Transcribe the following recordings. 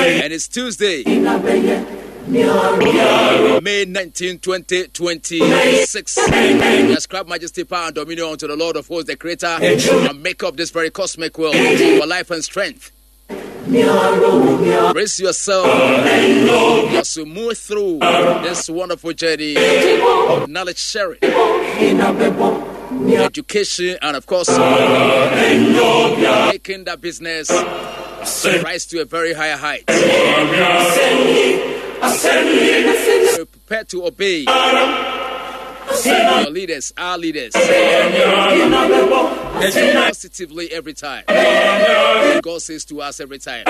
And it's Tuesday, May 19, 2026. We ascribe majesty, power, and dominion unto the Lord of hosts, the creator, and make up this very cosmic world for life and strength. Brace yourself as we move through this wonderful journey of knowledge sharing, education, and of course, making that business rise to a very higher height. Prepare to obey your leaders, our leaders, positively every time. God says to us every time,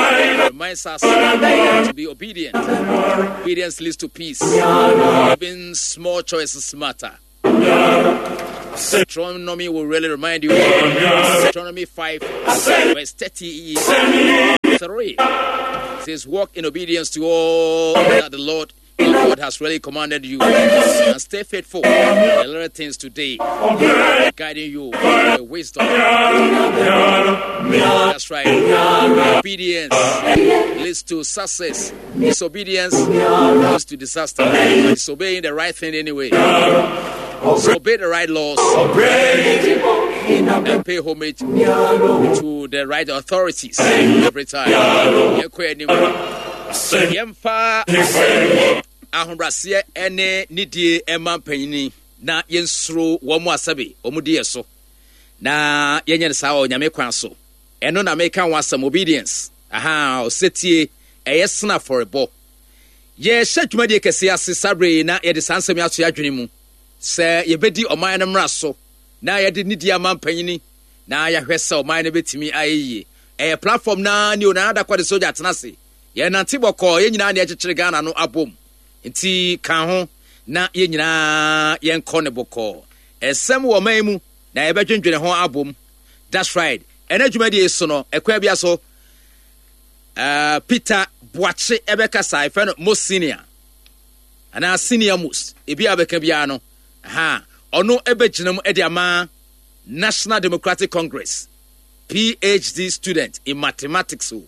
reminds us to be obedient. Obedience leads to peace. Even small choices matter. Deuteronomy will really remind you. Deuteronomy 5, verse 33 says, Walk in obedience to all that the Lord God has really commanded you. And stay faithful the little things today, guiding you with wisdom. That's right. Obedience leads to success. Disobedience leads to disaster. Disobeying the right thing anyway. So obey the right laws and pay homage to the right authorities every time. Yɛmfa ahobrɛaseɛ ne nidie mma mpanyini na yɛnsuro wɔn a sɛbe wɔn di yɛ so na yɛnyɛ no saa wɔ Nyame kwan so. Ɛno na meka ho asɛm, obedience. Aha, ɔsetie, ɛyɛ sene afɔrebɔ. Yɛhyɛ dwumadie kɛseɛ ase saa berɛ yi na yɛde saa nsɛm yi ato yɛn adwene mu sɛ yɛbɛdi ɔman no mmara so na yɛde nidie ama mpanyini na yɛahwɛ sɛ ɔman no bɛtumi ayɛ yie. Ɛyɛ platform no ara ni o, Nana Adakwa de sogya tena ase. Yɛnante bɔkɔɔ, yɛn nyinaa na yɛkyekyere Ghana no abom. Nti ka ho na yɛn nyinaa yɛnkɔ no bɔkɔɔ. Ɛsɛm wɔ ɔman yi mu na yɛbɛdwendwene ho abom. That's right. Ɛnɛ dwumadie yi so no, ɛkwan bia so, uh, Peter Boakye ɛbɛkasa, ɛfɛ no most senior anaa senior most, ebi a bɛka biara no, ha ɔno ɛbɛgyina mu ɛde ama National Democratic Congress. PhD student in mathematics o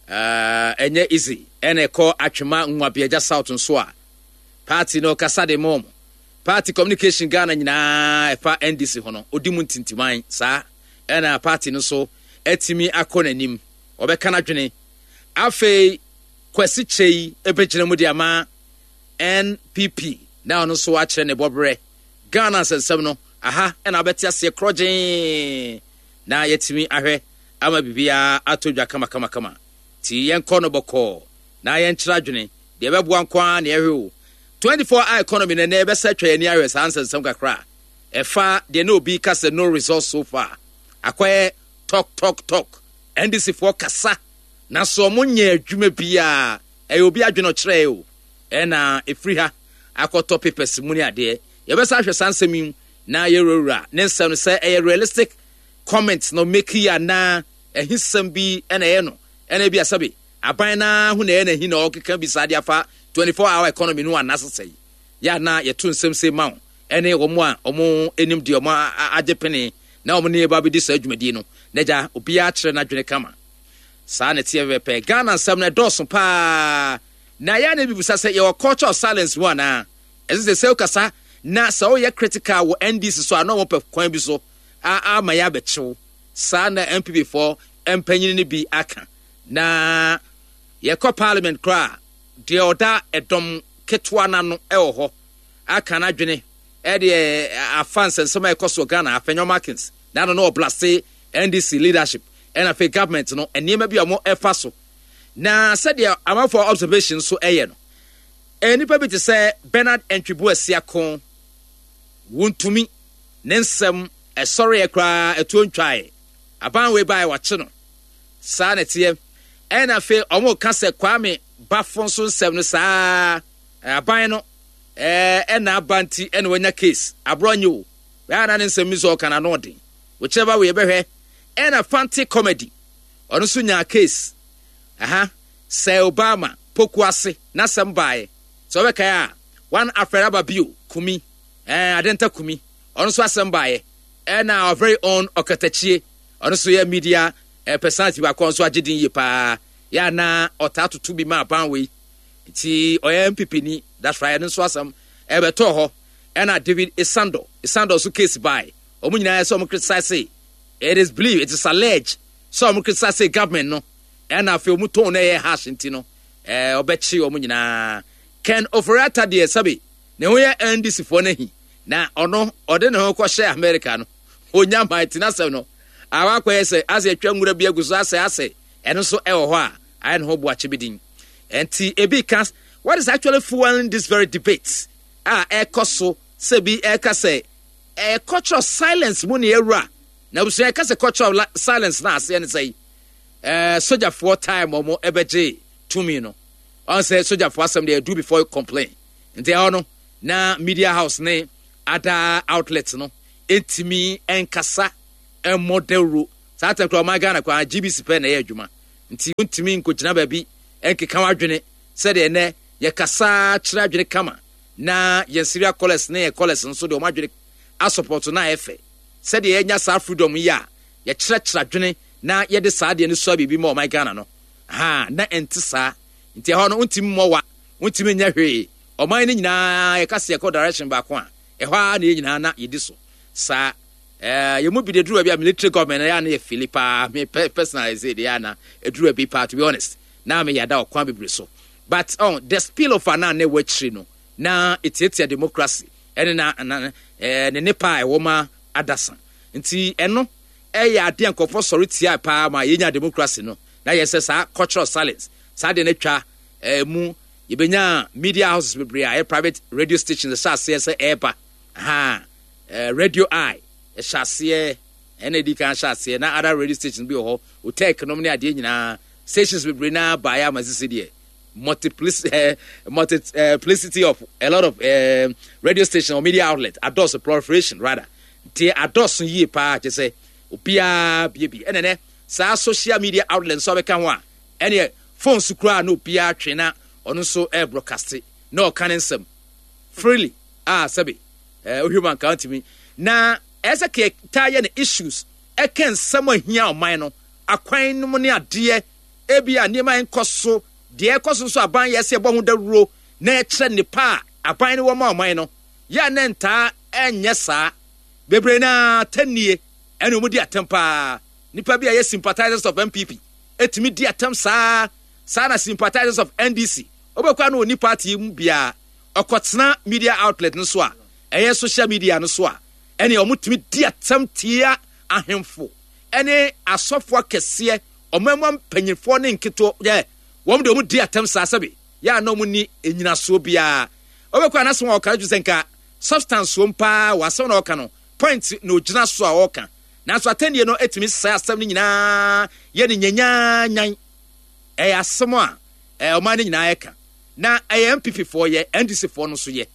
ɛnyɛ easy ɛna ɛkɔ Atwema Nwabiagya South nso a party no kasa de mom party communication Ghana nyinaa ɛfa NDC ho no odi mu ntintiman saa ɛna party no so atumi akɔ n'anim ɔbɛka n'adwene afei Kwasi Kyei ɛbɛgyina mu de ama NPP na ɔno nso akyerɛ ne bɔberɛ Ghana nsɛnsɛm no, aha na wobɛte aseɛ korɔgyee na yɛatumi ahwɛ ama biribiara atɔ dwa kamakamakama. Nti yɛnkɔ no bɔkɔɔ na yɛnkyerɛ adwene, deɛ ɛbɛboa nko ara na yɛhwɛ o. 24 hour economy no ɛnɛ yɛbɛsa atwa yɛn ani ahwɛ saa nsɛnsɛm kakra a ɛfa deɛ na obi ka sɛ no results so far. Akɔyɛ talk talk talk. NDC foɔ kasa nanso wɔn nyɛ adwuma biara. Ɛyɛ obi adwene ɔkyerɛɛ o. Ɛna ɛfiri ha akɔtɔ papers mu ne adeɛ. Yɛbɛsan ahwɛ saa nsɛm yi na yɛwurawura ne nsɛm no sɛ ɛyɛ realistic comment na ɔmake yi anaa ahisɛm bi na ɛyɛ no ɛna ebi asɛbe aban no ara ho na ɛyɛ n'ahi na ɔkeka bi saa de afa 24 hour economy no anaa sesɛe yɛ anaa yɛto nsɛm sei ma wo ɛne wɔn a wɔn anim deɛ wɔn agye pene na wɔn ne yɛba bɛdi saa dwumadie no na gya obiara kyerɛ n'adwene kama saa na ɛteɛ pɛpɛpɛ. Ghana nsɛm no ɛdɔɔso paa Na yɛ a na mibisa sɛ yɛwɔ culture of silence mu anaa? Ɛsɛ sɛ sɛ wokasa na sɛ woyɛ critical wɔ NDC so a na wɔpɛ kwan bi so a ama yɛ abɛkyew. Saa na NPP foɔ mpanyin no bi aka. Na yɛkɔ parliament koraa a, deɛ ɔda ɛdɔm ketewa no ano wɔ hɔ aka n'adwene ɛdeɛ afa nsɛnsɛm a ɛkɔ so wɔ Ghana, Afenyo Markins, na ano na ɔblase NDC leadership ɛna afei government no nneɛma bi a wɔn ɛfa so. Na sɛdeɛ amanfoɔ observation nso yɛ no, nnipa bi te sɛ Bernard Antwi Boasiako, wontumi, ne nsɛm ɛsɔreɛ koraa ɛtoɔ ntwaeɛ. Aban wei baeɛ wakye no. Saa na ɛteɛ. Ɛna afei wɔn ka sɛ Kwame Bafo nso nsɛm no saa aban no ɛna aba nti ɛna wanya case. Aborɔ nye o. Bɛyɛ na ne nsɛm bi nso ɔka n'ano ɔden. Wokyerɛ ba wei yɛbɛhwɛ. Ɛna Fante comedy. Ɔno nso nyaa case. Aha, Sir Obama, Poku ase, n'asɛm baeɛ. Sɛ wobɛkae a, one Alfred Aba bio, Kumi, eh, Adenta Kumi, ɔno nso asɛm baeɛ. Ɛna our very own Ɔkatakyie, ɔno nso yɛ media eh, personality baako a ɔno nso agye din yie paa. Yɛ a na ɔtaa toto bi ma aban wei. Nti ɔyɛ NPP ni. That's right, ɛno nso asɛm ɛbɛtɔɔ hɔ. Ɛna David Isando, Isando nso case bae. Wɔn nyinaa sɛ wɔn criticize. It is believed, it is alleged sɛ wɔn criticize government no. Ɛna afei wɔn tone no ɛyɛ harsh nti no, ɛɛ ɔbɛkye wɔn nyinaa. Ken Ofori-Atta deɛ sɛbe ne ho yɛ NDC foɔ no ahi. Na ɔno ɔde ne ho kɔhyɛ America no, ɔnya man ti n'asɛm no awa akɔyɛ sɛ asɛ atwa nwura bi agu so asɛ asɛ ɛno nso ɛwɔ hɔ a ayɛ ne ho boakye bi din. Ɛnti ebi ka what is actually fueling this very debate a ɛkɔ so sɛ bi ɛka sɛ ɛyɛ culture of silence mu ne awura na abusua ɛka sɛ culture of silence na aseɛ ne sɛ ɛɛ sogyafoɔ time wɔn ɛbɛgye tumi no ɔn sɛ sogyafoɔ asɛm deɛ do before you complain nti ɛhɔ no na media house ne other outlets no ntumi nkasa mmɔ dawuro saa tɛm koraa ɔman Ghana koraa GBC pɛ na ɛyɛ adwuma nti wontumi nkɔgyina baabi nkeka w'adwene sɛdeɛ ɛnɛ yɛkasa kyerɛ adwene kama na yɛn serial callers ne yɛn callers nso deɛ wɔn adwene asɔpɔto na ayɛ fɛ sɛdeɛ yɛnya saa freedom yi a yɛkyerɛkyerɛ adwene na yɛde saa deɛ no sua biribi ma ɔman Ghana no ha na ɛnte saa nti ɛhɔ no wontumi mmɔ wa wontumi nyɛ hwee Ɔman no nyinaa yɛka sɛ yɛkɔ direction baako a, ɛhɔ ara na yɛn nyinaa na yɛdi so. Saa eh, yɛn mu bi de duru baabi a military government na yɛ a na yɛ fili paa. Me personally say deɛ na ɛduru baabi paa to be honest. Na me yada ɔkwan bebree so. But oh, the spillover na na ɛwɔ akyiri no na ɛtiatia democracy ɛne na, na eh, ne nepa a ɛwɔ ma adasa. Nti ɛno ɛyɛ adeɛ nkurɔfoɔ sɔre tia paa ma yɛnya democracy no. Na yɛ sɛ saa cultural silence saa deɛ no atwa eh, mu Yɛbɛnyaa media houses bebree a ɛyɛ private radio stations ɛhyɛ aseɛ sɛ ɛreba. Ha, eh, Radio Eye ɛhyɛ aseɛ, ɛna ɛdi kan hyɛ aseɛ, na other radio stations bi wɔ hɔ, Otec nom ne adeɛ nyinaa, stations bebree na baeɛ ama sisi deɛ multiplicity, eh, multiplicity of a lot of eh, radio station or media outlet adɔɔso, proliferation rather, nti adɔɔso yie paa kyɛ sɛ obiara bie bi ɛna nɛ saa social media outlet nso abɛka ho a Ɛneɛ phone so koraa na obiara twe na ɔno nso ɛrebroadcaste na ɔka ne nsɛm freely a sɛbe ɛɛ wohwɛ mu anka ntumi na ɛsɛ kɛ taa yɛ ne issues ɛka nsɛm a hia ɔman no akwan no mu ne adeɛ ebi a nneɛma nkɔ so deɛ ɛkɔ so nso aban yɛ sɛ ɛbɔ ho dawuro na ɛkyerɛ nnepa a aban no wɔ ma ɔman no yɛ a na ntaa ɛnyɛ saa bebree na atɛnnie ɛne wɔn di atɛm paa nipa bi a yɛ sympathizers of NPP tumi di atɛm saa saa na sympathizers of NDC wobɛkɔ a na ɔni party yi mu biara ɔkɔtena media outlet no so a ɛyɛ social media no so a ɛne wɔn tumi di atɛm tia ahemfo ɛne asɔfo akɛseɛ ɔmamma mpanyinfoɔ ne nketewa yɛ wɔn de wɔn di atɛm saa sɛbi yɛ a na wɔn ni enyinasoɔ biara wobɛkɔ a n'asɛm a ɔka no sɛ nka substance wɔm paa wɔ asɛm na ɔka no point na ogyina so a ɔka Nanso atɛnnie no tumi sɛe asɛm no nyinaa yɛ no nyanyanyan. Ɛyɛ asɛm a ɔman no nyinaa ɛka. Na ɛyɛ NPP foɔ yɛ, NDC foɔ no nso yɛ.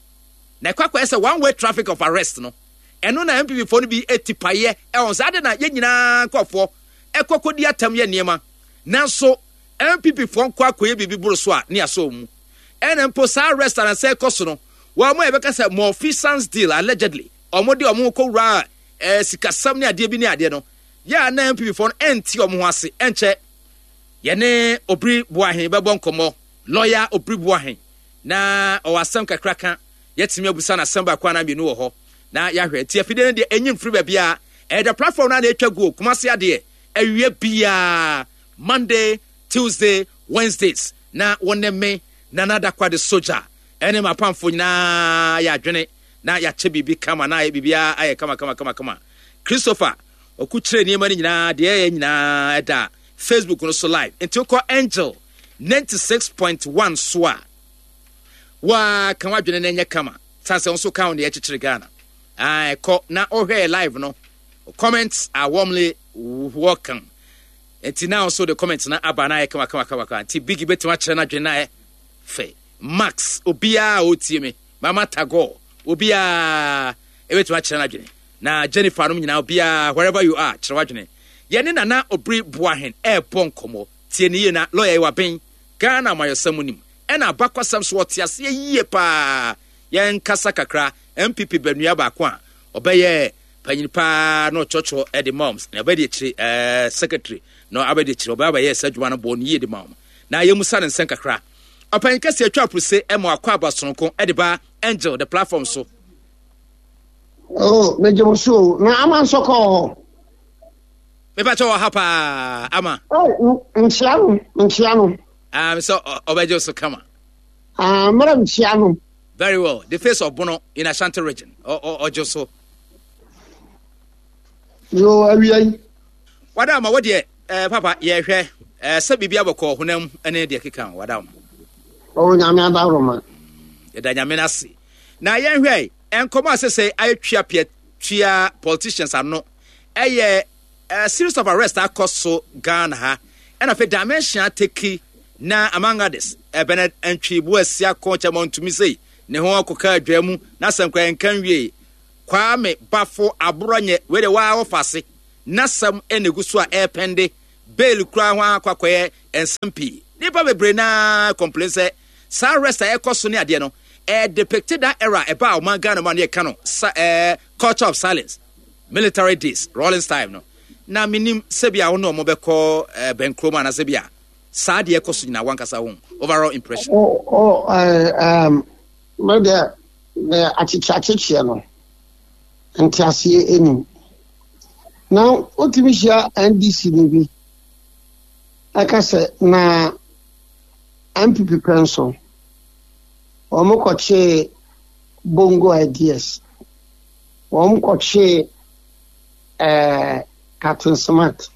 Na ɛkɔ akɔyɛ sɛ one way traffic of arrest no, ɛno na NPP foɔ no bi ti paeɛ ɛwɔ sɛ ade na yɛn nyinaa nkurɔfoɔ ɛkɔ kɔdi atɛm yɛ nneɛma. Nanso NPP foɔ nkɔ akɔyɛ biribi boro so a ne asɔ wɔn mu. Ɛna mpo saa arrest anasɛ ɛkɔ so no, wɔn a yɛbɛka sɛ malfeasance deal allegedly, wɔn de wɔn kɔwura eh, sikasɛm ne adeɛ bi ne adeɛ no, yɛ a na NPP foɔ no ɛnte wɔn ho ase. Ɛnkyɛ yɛne Obiri Boahen bɛbɔ nkɔmmɔ, lɔya Obiri Boahen, na ɔwɔ asɛm kakra ka, yɛtumi abusa no asɛm baako anaa mmienu wɔ hɔ na yɛahwɛ. Nti afidie no deɛ ɛnyi mfiri baabiara, ɛyɛ the platform no a na ɛtwa guo, Kumasi adeɛ, awia biara, Monday, Tuesday, Wednesdays, na wɔne me, Nana Dakwade Soja, ɛne m'apamfo nyinaa yɛ adwene. na yɛakyɛ biribi kama na ayɛ biribiara ayɛ kama kama kama kama. Christopher ɔko kyerɛ nneɛma no nyinaa deɛ ɛyɛ nyinaa ɛda Facebook no so live. Nti wokɔ Angel 96.1 so a waa ka w'adwene no nyɛ kama. San sɛ nso ka wo deɛ ɛkyekyere Ghana. Ah, ɛkɔ na ɔhwɛ live no. Comments are warmly welcome. Nti na nso de comments na aba na ayɛ kama kama kama kama. Nti Biggie bɛtumi akyerɛ n'adwene na ayɛ fɛ. Max obiara a ɔtie me. Mama Tagore, obiara ɛbɛtumi akyerɛ n'adwene. Na Jennifer nom nyinaa obiara wherever you are kyerɛ w'adwene. Yɛne Nana Obiri Boahen ɛrebɔ nkɔmmɔ. Tie ne yie na lawyer yi waben Ghana amayɔsɛm mu nim. Ɛna abakwasɛm so ɔte aseɛ yie paa. Yɛnkasa kakra NPP banua baako a ɔbɛyɛ panyin paa na ɔkyerɛkyerɛ de ma wɔn. Na ɔbɛdi akyire ɛɛ secretary na abɛdi akyire ɔbɛyɛ abɛyɛ saa adwuma no bɔ ne yie de ma wɔn. Na yɛmmusa no nsɛm kakra. Ɔpanyin kɛseɛ atwa aprose ma wakɔ aba sononko de ba Angel the platform so. Oh, megye wo so o. Na ama nso kɔ hɔ. Mepa kyɛ wɔ ha paa ama. Oh, nkyia no, nkyia no. Ah, sɛ ɔbɛgye wo so kama. Ah, mmerɛ nkyia no. Very well. The face of Bono in Ashanti region. Ɔgye so. Yo, awia yi. Wada ama wo deɛ eh, papa yɛhwɛ eh, sɛ biribi abɔkɔ honam ne deɛ keka ho wada ama. Ɔwɔ nyame adaworoma. Yɛda nyame no ase. Na yɛnhwɛ nkɔmɔ a sɛsɛ ayɛ twia pia twia politicians ano ɛyɛ eh, series of arrest akɔ so Ghana ha ɛna afei dimension ateki na among others eh, Bernard Antwi Boasi akɔ kyɛmɔ ntumi sei ne ho akɔka adwa mu na asɛm koraa nka nwie Kwame Bafo Aborɔnyɛ wei deɛ waa wɔfa ase N'asɛm na egu so a ɛrepɛnde, bail koraa ho akɔ akɔyɛ nsɛm pii. Nnipa bebree no ara complain sɛ saa arrest a ɛrekɔ so ne adeɛ no, ɛyɛ depict that era a ɛbaa ɔman Ghana mu a na yɛka no sa ɛɛ culture of silence, military days, Rawlings time no. Na menim sɛ bi a wo ne wɔn bɛkɔ ɛɛ bɛnkurom anaasɛ bi a saa deɛ ɛkɔ so nyinaa wankasa ho overall impression. Oh, oh, uh, um, me deɛ, akyekye akyekyeɛ no, nteaseɛ ɛnim. Na wotumi hyia NDC ni bi ɛka sɛ na NPP pɛ nso wɔn kɔkyee Bongo ideas, wɔn kɔkyee ɛɛ Captain Smart,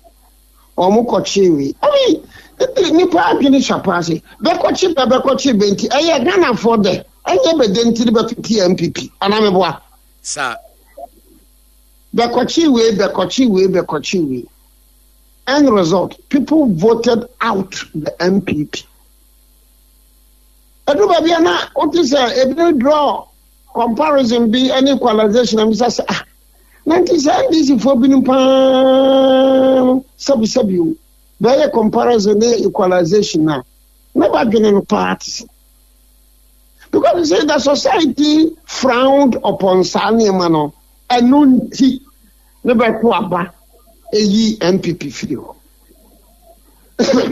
wɔn kɔkyee wei. I mean, nipa adwene sua paa se bɛkɔkye bɛ bɛkɔkye bɛ nti ɛyɛ Ghanafoɔ dɛ ɛnyɛ bɛ dɛ nti ne bɛto tia NPP anaa meboa? Saa. Bɛkɔkye wei, bɛkɔkye wei, bɛkɔkye wei. End result, people voted out the NPP. Ɛdu baabi a na wote sɛ ebi draw comparison bi ne equalization a bisa sɛ ah, na nti sɛ NDC foɔ binom paa no sɛbisɛbi o, bɛyɛ comparison ne equalization a, na badwene no paa te sɛ. Because you see, the society frowned upon saa nneɛma no, ɛno nti ne bɛto aba eyi NPP firi hɔ.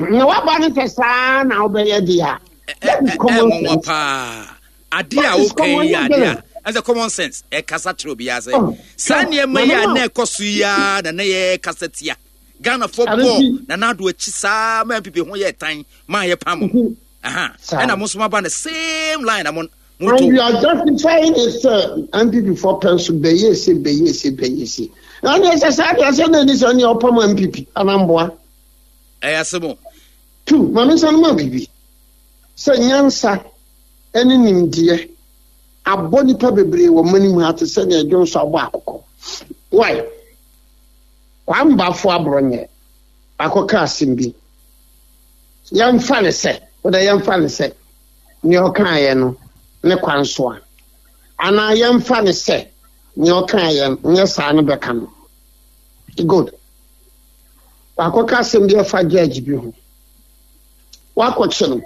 Na waba no sɛ saa na wobɛyɛ deɛ a, that is common sense. paa. Ade a woka yi ade a ɛsɛ common sense ɛkasa kyerɛ obiara sɛ oh, saa nneɛma yi a na ɛkɔ so yi ara na na yɛkasa tia. Ghanafoɔ bɔɔ Nana Addo akyi saa ma NPP ho yɛ tan ma yɛpam. Aha. Ɛna mo nso mo aba the same line na mo mo to. And you are justifying it sɛ NPP fo pɛ nso bɛyɛ se bɛyɛ se bɛyɛ se. Na ne sɛ saa deɛ sɛ na ɛni sɛ ne ɔpam NPP anamboa. Ɛyɛ asɛm o. Tu, ma me nsa no ma biribi. Sɛ nyansa ne nimdeɛ abɔ nipa bebree wɔ mani mu ha te sɛ nea dwonso abɔ akokɔ. Why? Kwame Bafo Aborɔnyɛ akɔka asɛm bi. Yɛmfa no sɛ, wodɛ yɛmfa no sɛ nea ɔkaeɛ no ne kwan so a, anaa yɛmfa no sɛ nea ɔkaeɛ no nyɛ saa no bɛka no. Good. Wakɔka asɛm bi afa judge bi ho. Wakɔkye no.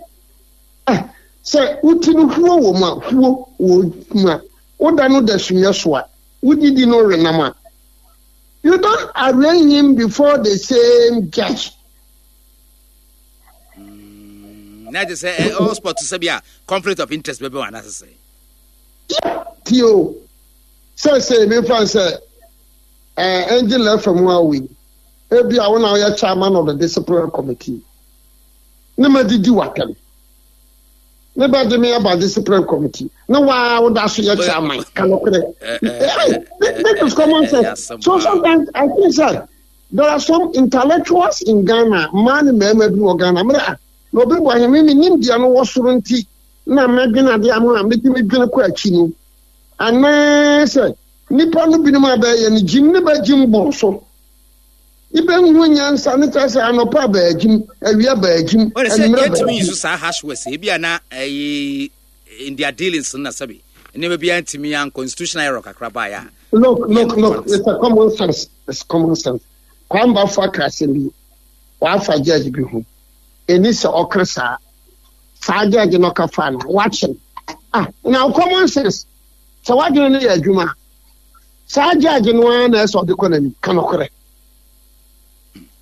Eh, sɛ woti no huo wɔ mu a, huo wɔ mu a, woda no da sumiɛ so a, wodidi no wenam a, you don't arraign him before the same judge. Na kyerɛ sɛ ɛ all sport sɛ bi a conflict of interest bɛbɛ wɔn anaasɛ sɛ. Tio sɛ sɛ mefa sɛ ɛɛ Angel FM a wei ebi a wɔn a wɔyɛ chairman of the disciplinary committee ne ma didi watɛm ne ba de me aba disciplinary committee ne waa woda so yɛ chairman kanokorɛ this is common sense so sometimes I think sɛ. There are some intellectuals in Ghana, mmaa ne mmarima bi wɔ Ghana. Mmerɛ a na obi bɔ ahene me nimdeɛ no wɔ soro nti na mɛdwene adeɛ ama a mɛtumi dwene kɔ akyi no. Anaasɛ nnipa no binom a bɛyɛ no gyim ne bɛgyim boro so. Ibɛnhu nyansa ne kyerɛ sɛ anɔpa bɛagyim, awia bɛagyim, anwummerɛ bɛagyim. Yɛntumi nsu saa harsh words ebi a na ɛyi in their dealings no na sɛbi nneɛma bi antumi ankɔ institutional error kakra baeɛ a. Look, look, look, it's a common sense. It's common sense. Kwame Bafo aka asɛm bi, wafa judge bi ho. Ɛni sɛ ɔka saa. Saa judge no ɔka fa no, wakye no. Ah, now common sense. Sɛ wadwene no yɛ adwuma a, saa judge no ara na ɛsɛ ɔde kɔ n'anim, ka nokorɛ.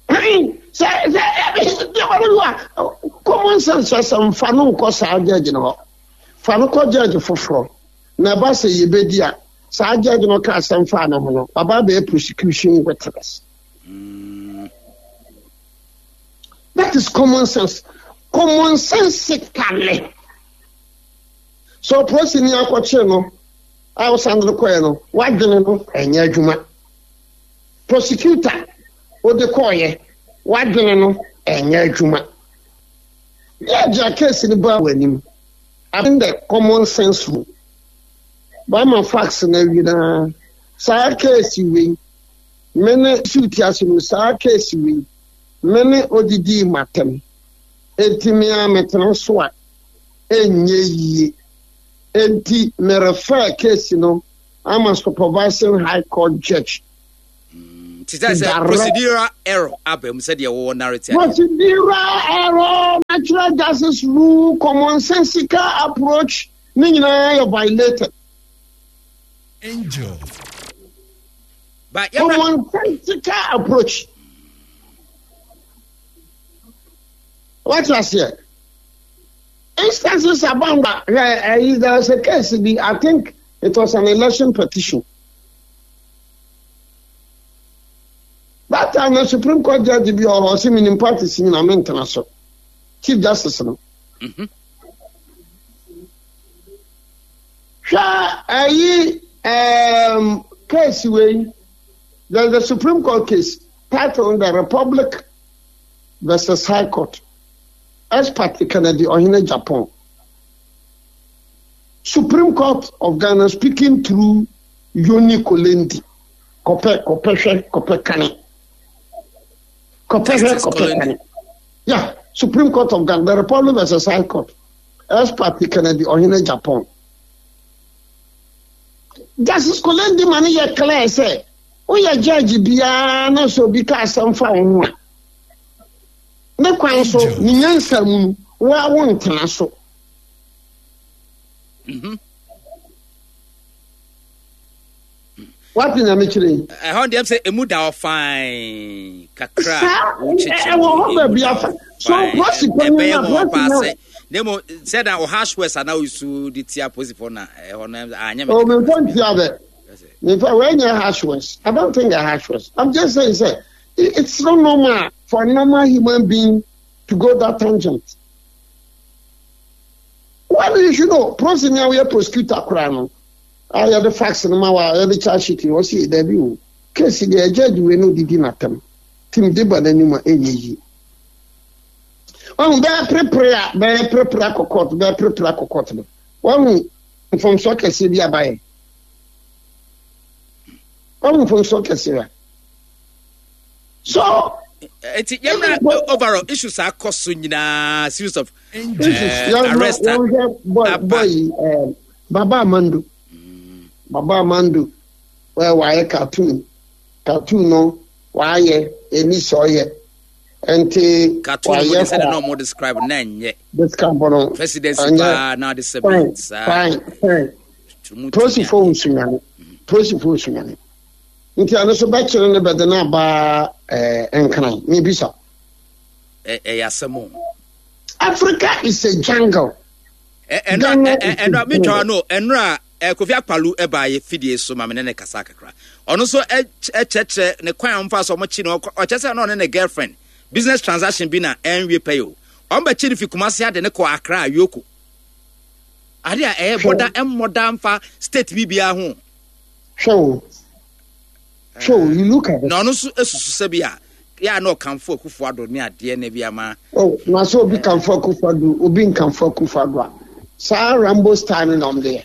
Sɛ, sɛ, Nneɛma no bi a common sense kyerɛ sɛ mfa no nkɔ saa judge no hɔ. Fa no kɔ judge foforɔ. Na ɛba sɛ yɛbɛdi a, saa judge no ka asɛm faa ne ho no, waba abɛyɛ prosecution witness. That is common sense. Common sensically. So polisi ni akɔkyere no a wosan de no kɔɛ no, wadwene no ɛnyɛ adwuma. Prosecutor wode kɔɔyɛ, wadwene no ɛnyɛ adwuma. Judge a case no baa w'anim, abɛn the common sense rule. Bama fax na awie na saa case wei me ne suit ase no saa case wei me ne odidii matam. Enti me a metena so a ɛnyɛ yie. Enti me refer case no ama supervising high court judge. Ti sɛ sɛ procedural error aba mu sɛdeɛ wɔwɔ narrative. Procedural error, natural justice rule, commonsensical approach ne nyinaa yɛ violated. Angel. But commonsensical approach. What you say? Instances abound. There was a case bi, I think it was an election petition. That time the Supreme Court judge bi wɔ hɔ ɔsɛ menim parties nyina mentena so. Chief Justice no. Mhm. Hwɛ ɛyi um, case wei. There's a Supreme Court case titled The Republic versus High Court. Ex parte Kennedy Ohene Japan. Supreme Court of Ghana speaking through Yoni Kolendi. Kɔpɛ kɔpɛ hwɛ kɔpɛ kane. Kɔpɛ hwɛ kɔpɛ kane. Yeah, Supreme Court of Ghana, the Republic versus High Court. Ex parte Kennedy Ohene Japan. Justice Kolendi ma no yɛ clear sɛ woyɛ judge biara na sɛ obi ka asɛm fa wo ho a ne kwan so ne nyansa mu no woa wo ntena so. Mhm. Wate nyame kyerɛ yi. Ɛhɔ deɛ sɛ emu da hɔ fine kakra. Saa ɛwɔ hɔ baabi afa. So polisi panyin na polisi na. Na emu sɛ na ɔha words ana oyisu de tia polisifoɔ na ɛhɔ no anyɛ mɛ. O mi nfa ntia dɛ. Mi nfa wei nyɛ harsh words. I don't think they're harsh words. I'm just saying sɛ it's not normal for a normal human being to go that tangent. Well, you should know, polisi ni a woyɛ prosecutor koraa no, a yɛde fax no ma wa a yɛde charge sheet no, ɔsi dabi o, case deɛ judge wei no didi n'atam, tim de ba n'anim a ɛnyɛ yie. Wahu bɛyɛ perepere a bɛyɛ perepere akɔ court, bɛyɛ perepere akɔ court no, wahu mfomsoɔ kɛseɛ bi abayɛ. Wahu mfomsoɔ kɛseɛ a. So nti yɛmra overall issues a akɔ so nyinaa series of uh, arrest aba boy uh, Baba Amando mm. Baba Amando wɛ wayɛ cartoon cartoon no wayɛ ɛni sɛ ɔyɛ nti cartoon mo de sɛ na ɔmo describe na nyɛ describe no presidency paa na ɔde sɛ bi saa fine fine polisifoɔ nsunyane polisifoɔ nsunyane Nti ɛno so bɛkyere no bɛde no aba eh, Nkran? Mebisa. Ɛyɛ asɛm o. Africa is a jungle. Ɛnora metwa no ɛnora Kofi Akpalu ɛbaa yɛ fidie so ma me ne ne kasa kakra. Ɔno nso ɛkyerɛkyerɛ ne kwan a wɔmfa so wɔkye no ɔkyerɛ sɛ na ɔne ne girlfriend business transaction bi na ɛnwie pɛ o. Wɔn bɛkye no fi Kumasi ade ne kɔ Accra Yoko. Ade a ɛyɛ bɔda ɛmmɔda mfa state bi biara ho. Hwɛ o, hwɛ o, you look at it. Na ɔno nso esusu sɛ bi a yɛ a na ɔkamfo Akufo Addo ne adeɛ na bi ama. Oh, na sɛ obi kamfo Akufo Addo, obi nkamfo Akufo Addo a, saa Rambo style no na ɔmo de yɛ.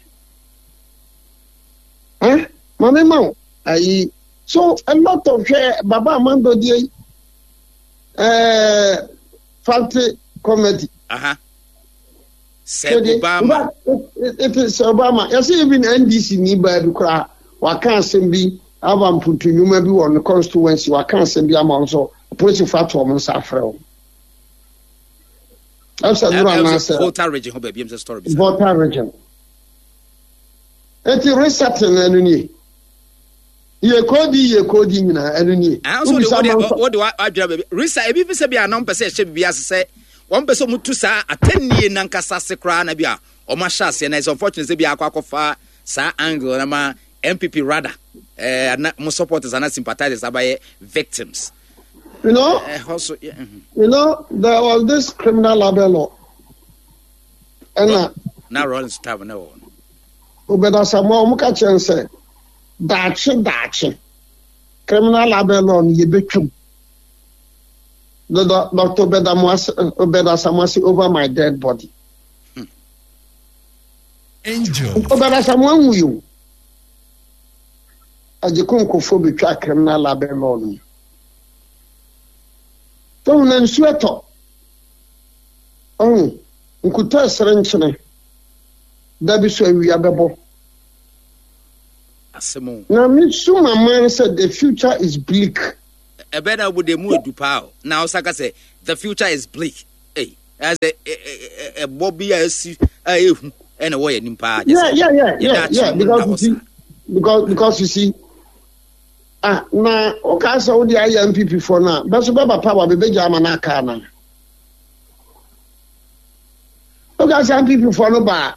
Eh, maame ma wo ayi. So a lot of hwɛ Baba Amando deɛ yi, eh, Fante comedy. Aha. Sɛ Obama. It is sɛ Obama. Yɛsɛ even NDC ni baa bi koraa waka asɛm bi aba mpuntu nnwuma bi wɔ ne constituency waka asɛm bi ama wɔn so apolisifoɔ ato wɔn nsa afrɛ wɔn. Ɛsɛ nnora anaasɛ. Volta region hɔ baabi ɛm sɛ story bi. Volta region. Eti resetting na ɛno nie. Yɛ kɔɔdi yɛ kɔɔdi nyinaa ɛno nie. Ah, nso de wode wode wadwira baabi. Risa ebi fi sɛ bi a na wɔn pɛ sɛ ɛhyɛ biribi ase sɛ wɔn pɛ sɛ wɔn tu saa atɛnnie nankasa ase koraa na bi a wɔn ahyɛ aseɛ na it's unfortunate sɛ bi akɔ akɔfa saa angle na ma NPP rather ɛɛ eh, na mo supporters ana sympathizers abayɛ victims. You know, eh, also, yeah, mm-hmm. You know, there was this criminal libel law. Ɛna. Na Rawlings time na wɔ no. Obed Asamoah wɔn ka kyerɛ no sɛ daakye daakye criminal libel law no yɛbɛtwam. Dr. Obed Asamoah say over my dead body. Hmm. Angel. Obed Asamoah nwui o. Agyekonkofo betwa criminal libel law no mu. Tɔn na nsuo ɛtɔ. Ɔho nkutɔ ɛsere nkyene. Da bi so awia bɛbɔ. Asɛm o. Na me su ma man sɛ the future is bleak. Ɛbɛn na wo de mu edu paa o. Na ɔsa ka sɛ the future is bleak. Ei, ɛsɛ ɛbɔ bi a esi a ehu ɛna ɛwɔ yɛn anim paa. Yeah, yeah, yeah, yeah, yeah. Because you see, because you see, ah, na o ka sɛ o de ayɛ NPP fo na bɛso bɛba power bɛbɛgya ama na aka na. O ka sɛ NPP fo no ba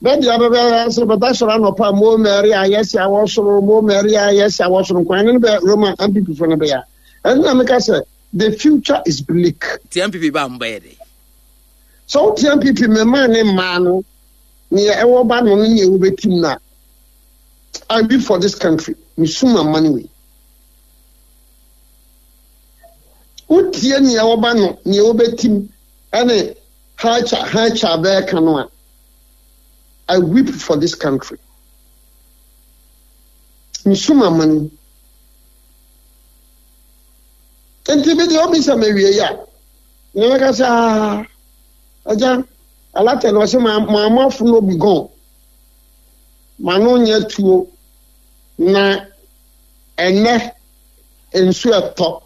bɛde abɛbɛ sɛ bɛda sɔrɔ anɔpa mo mɛri a yɛsi awɔ soro mo mɛri a yɛsi awɔ soro nkwan ne bɛ Roma NPP fo no bɛya. Ɛno na meka sɛ the future is bleak. Ti NPP ba mo bɛyɛ dɛ. Sɛ wote NPP mmarima ne mmaa no nea ɛwɔ ba no ne nea wobɛtim no a, I weep for this country. Mesu ma man wei. Wotie nea ɛwɔ ba no, nea wobɛtim ɛne hacha hacha bɛɛka no a, I weep for this country. Mesu ma man. Nti bi deɛ ɔbisa me wie a, na mɛka sɛ aa agya alata na ɔsɛ maa mo afono bi gɔn ma no nyɛ tuo na ɛnɛ nsu ɛtɔ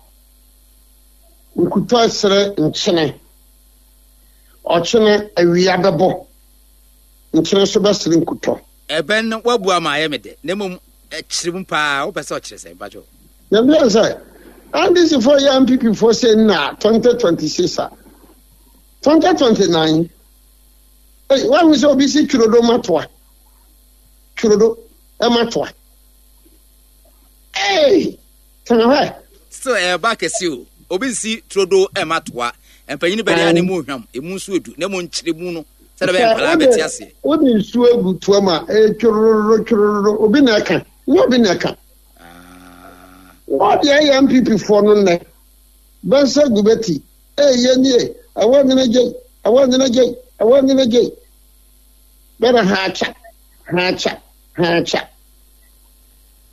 nkutɔ ɛsrɛ nkyene ɔkyene awia bɛbɔ nkyene so bɛsrɛ nkutɔ. Ɛbɛn no wabu ama ayɛ me dɛ na mmom ɛkyerɛ mu paa wopɛ sɛ ɔkyerɛ sɛ mpakyɛw. Na bia sɛ NDC foɔ yɛ NPP foɔ sɛ nna 2026 a 2029 ei wahu sɛ obi si twirodo matoa twirodo matoa ei tena hɔ. Still ɛɛba kɛse o obi nsi turodo matoa mpanyin bɛde a ne mu hwam emu nso edu na emu nkyerɛ mu no sɛdeɛ bɛyɛ nkwadaa bɛte aseɛ. Wode nsuo agu toa mu a ɛyɛ twororo twororo obi na ɛka nyɛ obi na ɛka. Wɔde ayɛ NPP foɔ no nnɛ. Bɛnsa gu bɛti. Ee yɛ nie. Ɛwɔ nyina gyei. Ɛwɔ nyina gyei. Ɛwɔ nyina gyei. Bɛrɛ haakya. Haakya. Haakya.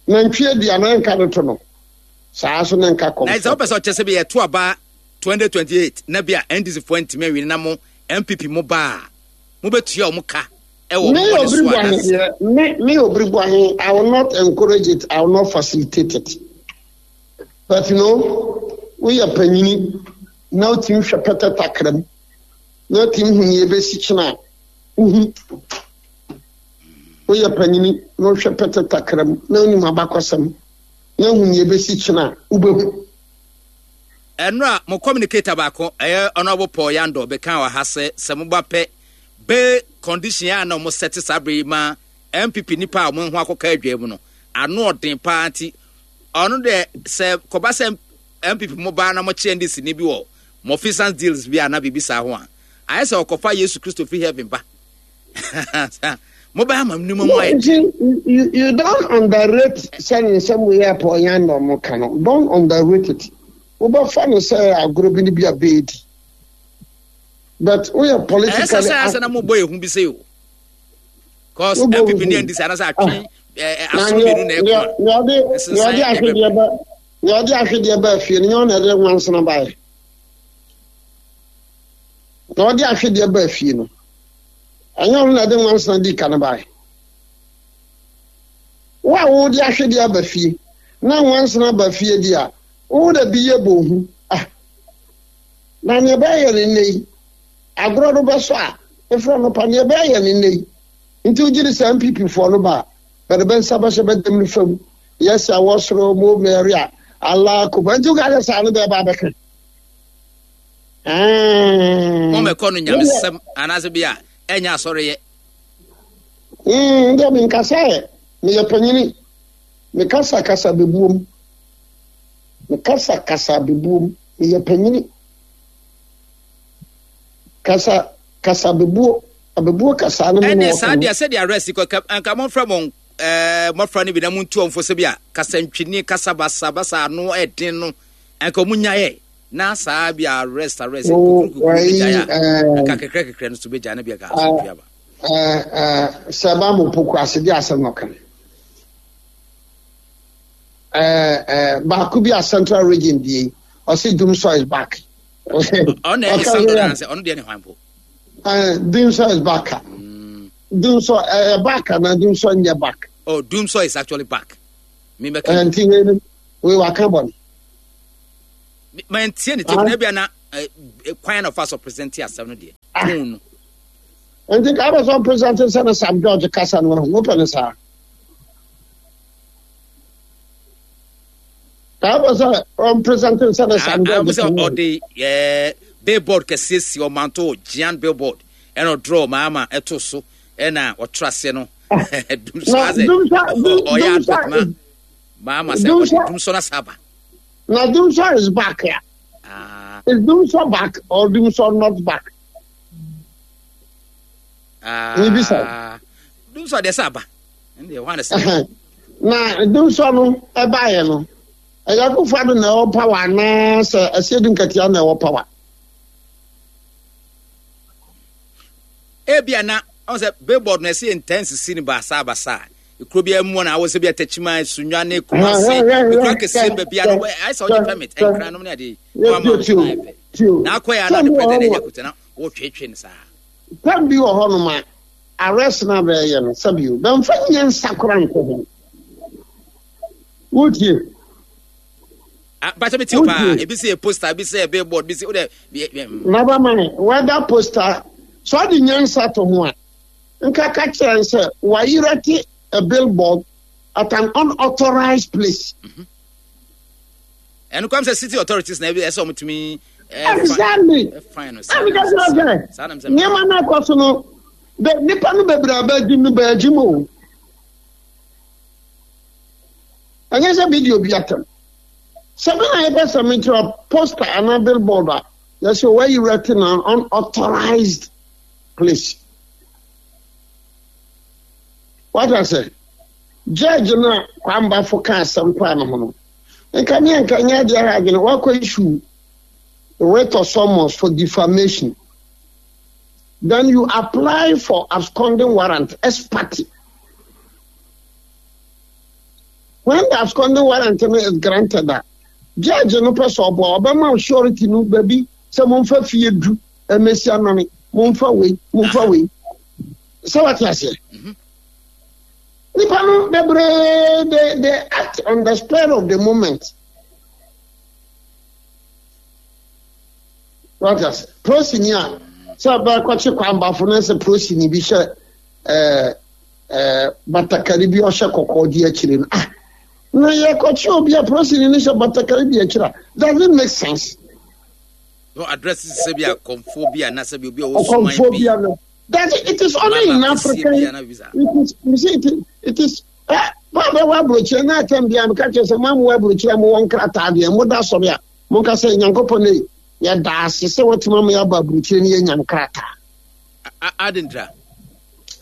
Nantwie aduane nka no to no. Saa so na nka kɔm. Na sɛ wopɛ sɛ ɔkyɛ sɛ bi yɛto aba 2028 na bi a NDC foɔ ntumi anwini na mo NPP mo ba a mobɛtua wɔn ka ɛwɔ Me mo bɔne so anaasɛ. Me me Obiri Boahe, I will not encourage it, I will not facilitate it. But you know, woyɛ panyini na wotumi hwɛ pɛtɛ takra mu na wotumi hu nea ebesi kyena a, wohu. Woyɛ panyini na wohwɛ pɛtɛ takra mu na wonim abakɔsɛm na hu nea ebesi kyena a, wobɛhu. Ɛnora mo communicator baako, ɛyɛ Honourable Paul Yandor bɛkaa wɔ ha sɛ sɛ moba pɛ Bail condition a na wɔn sɛte saa bere yi ma NPP nipa a wɔn ho akɔka adwa mu no ano ɔden paa nti ɔno deɛ sɛ kɔba sɛ NPP mo ba na mo kye NDC ni bi wɔ Mofisans deals bi a na biribi saa ho a ayɛ sɛ ɔkɔfa Yesu Kristo firi heaven ba mo bɛ ama nneɛma mu ayɛ. You, you don't underrate sɛ ne nsɛm wei a Paul Yandor mo ka no don't underrate it wobɛfa no sɛ agorɔ bi ne bi a bɛɛdi but woyɛ politically. Ɛsɛ sɛ asɛ na mo bɔ ehu bi sɛ o. Cause NPP ne NDC anasɛ atwe aso mmienu na ɛko a. Nea ɔde ahwedeɛ ba nea ɔde ahwedeɛ ba fie no nyɛ ɔna ɛde nwansena baeɛ. Na ɔde ahwedeɛ ba fie no ɛnyɛ ɔno na ɛde nwansena di ka no baeɛ. Wo a wode ahwedeɛ aba fie na nwansena ba fie di a wo da bi yɛ bɔ hu ah. Na nea ɛbɛyɛ no nnɛ yi, agorɔ no bɛsɔ a, mefrɛ no pa, nea ɛbɛyɛ no nnɛ yi, nti wogye di sɛ NPP foɔ no ba a, bɛde bɛ nsa bɛhyɛ bɛ dam no fam. Yɛsi a wɔsoro mo Mary a Allah kuba nti woka sɛ saa no bɛɛba abɛka. Mɔmɛkɔ no nyamesɛm anaasɛ bi a ɛnyɛ asɔreyɛ. Deɛ menkasa ɛ, meyɛ panyini. Mekasa kasa bɛbuom. Mekasa kasa bɛbuom. Meyɛ panyini. Kasa kasa bɛbuo. Abɛbuo kasa no mu na wɔka. Ɛne saa deɛ sɛdeɛ arrest kɔ nka momfrɛ mo ɛɛ mmɔfra no bi na montu wɔn fo sɛ bi a kasantwini kasa basa basa ano ɛden no nka wɔn nyaeɛ na saa bi a arrest arrest kukuru kukuru bɛgyae a nka kɛkrɛ kɛkrɛ no so bɛgyae na bi a nka asomdwe aba. Sɛ ba mo poku ase de asɛm no kan. Baako bi a central region die ɔsi Dumsor is back. Ɔno na ɛyɛ sandor anaasɛ ɔno deɛ ne hwan po. Dumsor is back. Dumsor ɛyɛ back ana Dumsor nyɛ back. Oh, Dumsor is actually back. Mi bɛ kɛ. Nti wei no wei waka bɔ no. Ma n tie ne tape na ebi ana kwan na ɔfa so present asɛm no deɛ. Tone no. Nti ka abɛ sɛ present sɛ ne Sam George kasa no ho wopɛ ne saa. Ka abɛ sɛ ɔmpresent sɛ ne Sam George kasa no. Ɔde billboard kɛseɛ si ɔmanto giant billboard ɛna ɔdraw maama ɛto so ɛna ɔtra aseɛ no. Dumsɔ asɛ ɔyɛ advert ma maama sɛ ɔde dumsɔ na saba. Na Dumsor is back ya. Ah. Is Dumsor back or Dumsor not back? Ah. Nibisa. Dumsor deɛ sɛ aba. Ɛnde ɛhɔ ana sɛ. Na Dumsor no ɛbaeɛ no, ɛyɛ Akufo-Addo na ɛwɔ power anaa sɛ Asiedu Nketia na ɛwɔ power? Ebia na ɔn sɛ billboard na ɛsɛ yɛ ntaa nsisi no baasa baasa. Kuro biara mu na awɔ sɛ bi Atakyima, Sunyani, ne Kumasi, ekuro akɛseɛ no baabi a no ayɛ sɛ ɔgye permit, nkran nom ne adeɛ yi. Na wama wo so ayɛ pɛ. Na akɔ yɛ a na ɔde president ɛyɛ kuta na wɔtwetwe no saa. Pɛm bi wɔ hɔ nom a arrest na bɛyɛ no sɛbi o bɛnfa nyansa kora nkɔ ho. Wotie? Bàtɛ mi ti o paa, ebi sɛ yɛ poster, ebi sɛ yɛ billboard, ebi sɛ o dɛ. Never mind whether poster, sɛ ɔde nyansa to ho a. Nka ka kyerɛ no sɛ wɔayerɛte a billboard at an unauthorized place. Mm-hmm. Ɛno kwam sɛ city authorities na ɛsɛ wɔn tumi. Exactly. Fine no. Ɛmi ka kyerɛ sɛ nneɛma no akɔ so no bɛ nipa no bebree abɛgye no bɛgye mu o. Ɛnyɛ sɛ video bi atɛm. Sɛ mi na yɛpɛ sɛ mi kyerɛ poster anaa billboard a yɛsɛ wɔayerɛte na unauthorized place. Wata sɛ judge no a Kwambafo ka asɛm faa ne ho no, nka me anka nyɛ adeɛ ha adwene wakɔ issue writ of summons for defamation. Then you apply for absconding warrant ex parte. When the absconding warrant no is granted a, judge no pɛ sɛ ɔboa ɔbɛma surety no baabi sɛ momfa fie du mmɛsi amane momfa wei momfa wei sɛ wate aseɛ mhm. nipa no bebree they they act on the spur of the moment wate aseɛ prosini a sɛ bɛkɔkye kwambafo no sɛ prosini bi hyɛ ɛɛ ɛɛ batakari bi ɔhyɛ kɔkɔɔ di akyire no ah na yɛkɔkye obi a prosini no hyɛ batakari di akyire a does it make sense. No address sɛ bi a kɔmfoɔ bi a na sɛ bi obi a ɔwɔ suman bi. That it is only in Africa. It is you see it is it is. Eh, ba bɛ wɔ aburokyire na atɛm bi a meka kyerɛ sɛ mo amu aburokyire a mo wɔ nkrataa deɛ mo da sɔre a mo nka sɛ nyankopɔn ne yɛ da ase sɛ wɔtumi ama yɛaba aburokyire ne yɛnya nkrataa. Adendra.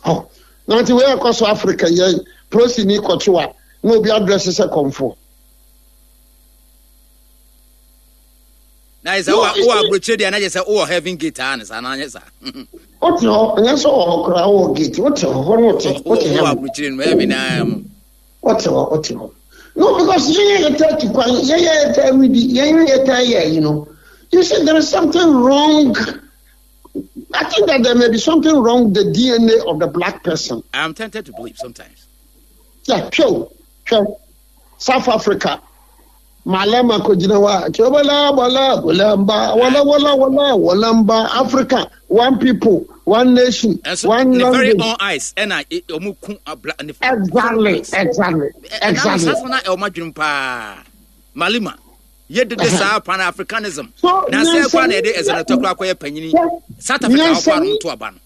Oh, na nti wei ɛkɔ so Africa yɛ prosini kɔkyewa na obi adrɛse sɛ kɔmfoɔ. Na yɛ sɛ wowɔ aburokyire deɛ na yɛ sɛ wowɔ heaven gate aa ne saa na anyɛ saa. Wote hɔ nyɛ sɛ wɔ hɔ koraa wowɔ gate wote hɔ hɔ no wote wote heaven. Wowɔ aburokyire no heaven naa mu. Wote hɔ wote hɔ. No because yɛn yɛ yɛtaa tu kwan yɛn yɛ yɛtaa redi yɛn yɛ yɛtaa yɛ ayi no you see there is something wrong I think that there may be something wrong with the DNA of the black person. I am tempted to believe sometimes. Yeah, hwɛ o hwɛ South Africa. Malema kɔgyina hɔ a, kyɛ wala wala wala mba wala wala wala wala mba Africa one people. One nation, one language. Ne very own eyes ɛna wɔn ku abla ne. Exactly, exactly, exactly. Ɛna na ɛwɔ adwene paa Malima yɛ dede saa Pan Africanism. Na sɛ ɛkɔ na yɛde ɛzɛnɛtɔ kora akɔyɛ panyini South Africa ɔkɔ ano to aba no.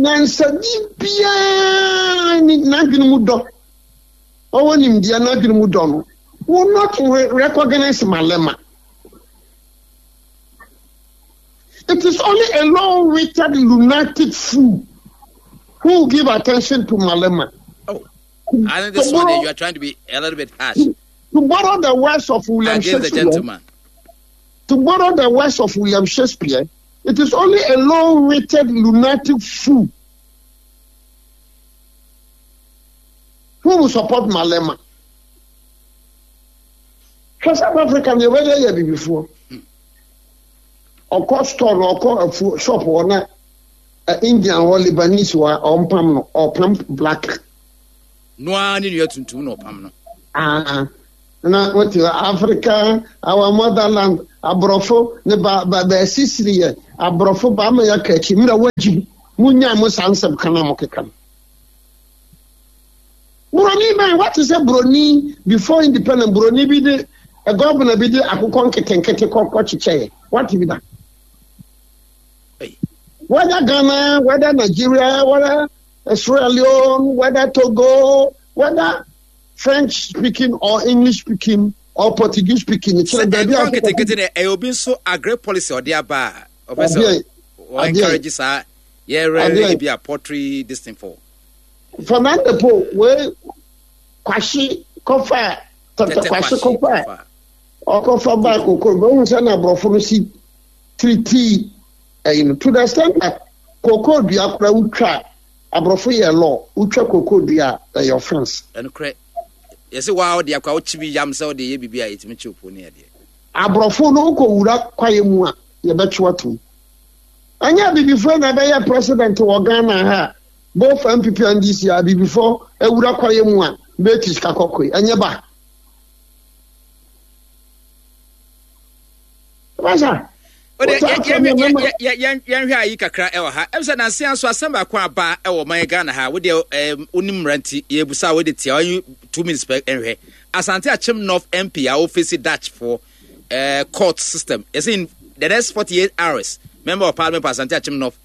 Nyansani biara ni n'adwene mu dɔ ɔwɔ nimdeɛ n'adwene mu dɔ no will not recognize Malema. It is only a low-witted lunatic fool who will give attention to Malema. Oh, I think this one you are trying to be a little bit harsh. To, to borrow the words of William Against Shakespeare. The gentleman. To borrow the words of William Shakespeare, it is only a low-witted lunatic fool who will support Malema. Hwɛ South Africa nea wɔyɛ yɛ abibifoɔ. Ɔkɔ store no ɔkɔ afuo shop hɔ na Indian hɔ Lebanese hɔ a ɔmpam no ɔpam black. No ara ne nua tuntum na ɔpam no. Ah, na wote Africa our motherland aborɔfo ne ba ba baasisiri yɛ aborɔfo ba ama yɛaka akyi mmerɛ woagyim monyaa mo saa nsɛm ka no a mokeka no. Buroni bɛn wate sɛ buroni before independent buroni bi de gɔvena bi de akokɔ nketenkete kɔkɔ kyekyɛɛ wate bi da. Whether Ghana, whether Nigeria, whether Sierra Leone, whether Togo, whether French speaking or English speaking or Portuguese speaking. Sɛ nkokɔ nketenkete na ɛyɛ obi nso agri policy ɔde aba a ɔpɛ sɛ ɔ encourage saa yɛrɛ bi a poultry this thing for. Fernando Po wei kwahye kɔfa tɛtɛ kwahye kɔfa ɔkɔfa baa koko bɛhu sɛ na aborɔfo no si tiritii ɛyi no to the extent that koko dua koraa wotwa aborɔfo yɛ law wotwa koko dua a ɛyɛ offense. Ɛnokorɛ yɛsɛ waa ɔde akɔ a wokyi bi yam sɛ wode yɛ biribi a yɛtumi kye po ne adeɛ. Aborɔfo no wokɔ wura kwaeɛ mu a yɛbɛkye watom. Ɛnyɛ abibifoɔ na ɛbɛyɛ president wɔ Ghana ha a both NPP and NDC a abibifo awura kwaeɛ mu a bɛti sika kɔkɔe ɛnyɛ ba. Basa. Yɛnhwɛ ayi kakra ɛwɔ ha ɛm sɛ nanse nso asɛm baako aba ɛwɔ man Ghana ha wodeɛ wonim mmara nti yɛbusa wode tia ɔyi 2 minutes pɛ nhwɛ Asante Akyem North MP a wɔfesi Dutch foɔ court system yɛsɛ in the next 48 hours member of parliament for Asante Akyem North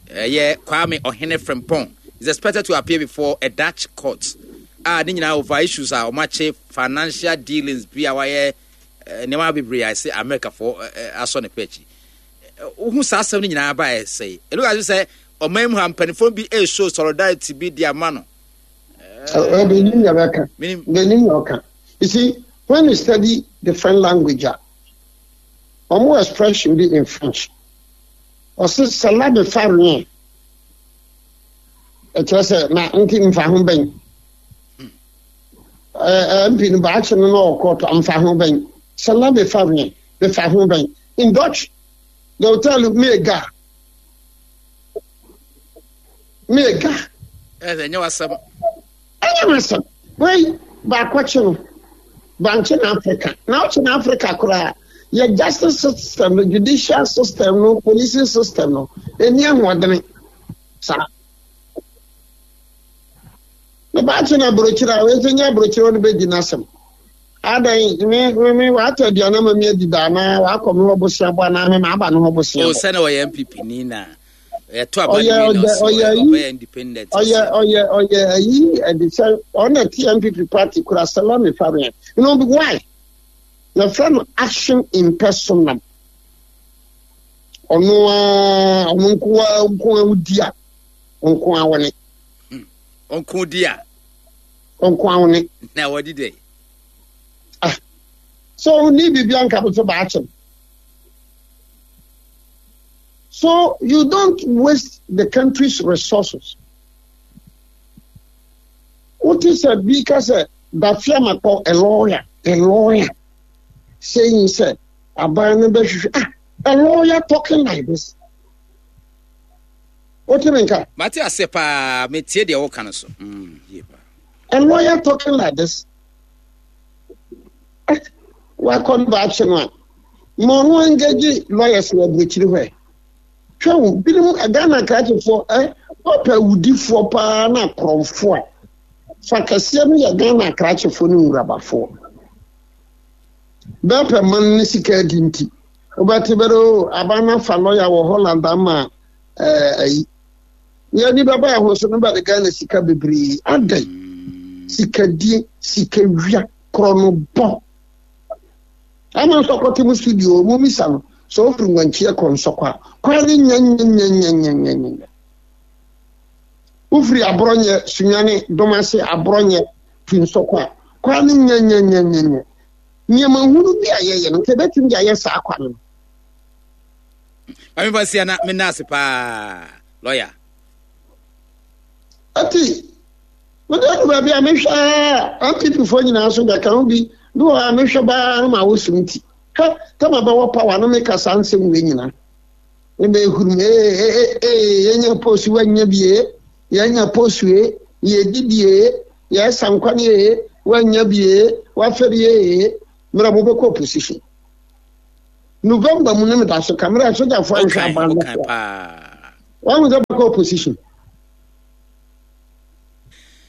ɛyɛ Kwame Ɔhene Frimpong is expected to appear before a Dutch court a ne nyinaa over issues a wɔakye financial dealings bi a wɔayɛ nneɛma bebree a ɛsɛ Amerikafoɔ asɔ ne pɛ akyi. Wohu saa asɛm no nyinaa ba ɛsɛ ɛno ka sɛ ɔman mu ha mpanimfoɔ bi ɛreshow solidarity bi de ama no. Benin yɛ bɛka. Benin yɛ ɔka. You see, when you study the French language a, wɔn expression bi in French. Ɔse cela me fa rien. Ɛkyerɛ sɛ na nti mfa ho bɛn. MP no baakye no na ɔkɔ to mfa ho bɛn. Cela me fa rien. Me fa ho bɛn. In Dutch, they will tell you me ga. Me ga. Ɛnyɛ wasɛm. Ɛnyɛ m'asɛm. Wei baako kye no, bankye na Africa. Na ɔkye na Africa koraa. Yɛ justice system no, judicial system no, policing system no, ɛni ahoɔdene saa. Ne baakye na aburokyire a, wei nso nyɛ aburokyire ɔno bɛdi n'asɛm. Adan me me me watɔ aduane ama mi adi da anaa wakɔ me hɔ bosea bɔ anaa me ma aba ne hɔ bosea bɔ. O sɛ na ɔyɛ NPP ni na. Ɛto aba no wie na ɔsɛ ɔbɛyɛ independent. Ɔyɛ ɔyɛ ɔyɛ ayi ɛde sɛ ɔna ti NPP party kura Salami Fabian. You know why? Yɛfrɛ no action in personam. Ɔno ara ɔno nko ara nko ara di a nko ara wɔne. Ɔnko di a. Ɔnko ara wɔne. Na wɔdi dɛ. Ah, so ɔni biribi anka so baakyɛm. So you don't waste the country's resources. Wote sɛ bi ka sɛ Dafeamekpor a lawyer, a lawyer saying sɛ aban no bɛhwehwɛ ah a lawyer talking like this. Wote me nka? Mate ase paa, metie deɛ woka no so. Yie paa. A lawyer talking like this. Eh, wakɔ no baakye no a, ma ɔno engage lawyers wɔ aburokyiri hɔ ɛ. Hwɛ wo, binom Ghana krakyefoɔ ɛ, wɔpɛ awudifoɔ paa na akorɔmfoɔ a, fa kɛseɛ no yɛ Ghana akrakyefoɔ ne nwurabafoɔ. Bɛpɛ man ne sika adi nti, wobɛte bɛrɛ o, aban no afa lɔya wɔ Holland ama ɛɛ ayi. Yɛn ani bɛba yɛn ho so no bɛde Ghana sika bebree. Adɛn? Sikadie, sikawia, korɔnobɔ. Ama nsɔkɔ te mo studio mo misa no sɛ ofiri ngwankyeɛ kɔ nsɔkɔ a kwan ne nyɛnyɛnyɛnyɛnyɛnyɛ. Wofiri aborɔnyɛ sunyane domase aborɔnyɛ fi nsɔkɔ a kwan ne nyɛnyɛnyɛnyɛnyɛ. Nneɛma hunu bi a yɛyɛ no nka ebɛtumi de ayɛ saa kwan no. Maame fa sia na mena ase paa lɔya. Ati Wode adu baabi a mehwɛ a NPP foɔ nyinaa so bɛka ho bi bi wɔ hɔ a mehwɛ baa no ma wosom nti hɛ tama bɛwɔ power no meka saa nsɛm wei nyinaa ɛbɛ ehurum ee ee ee yɛnya post wanya bi ee yɛnya post ee yɛdi bi ee yɛsa nkwan ee wanya bi ee wafɛre ee mmerɛ mobɛkɔ opposition November mu no meda so ka mmerɛ sogyafoɔ anhwɛ aban no so a wɔn sɛ bɛkɔ opposition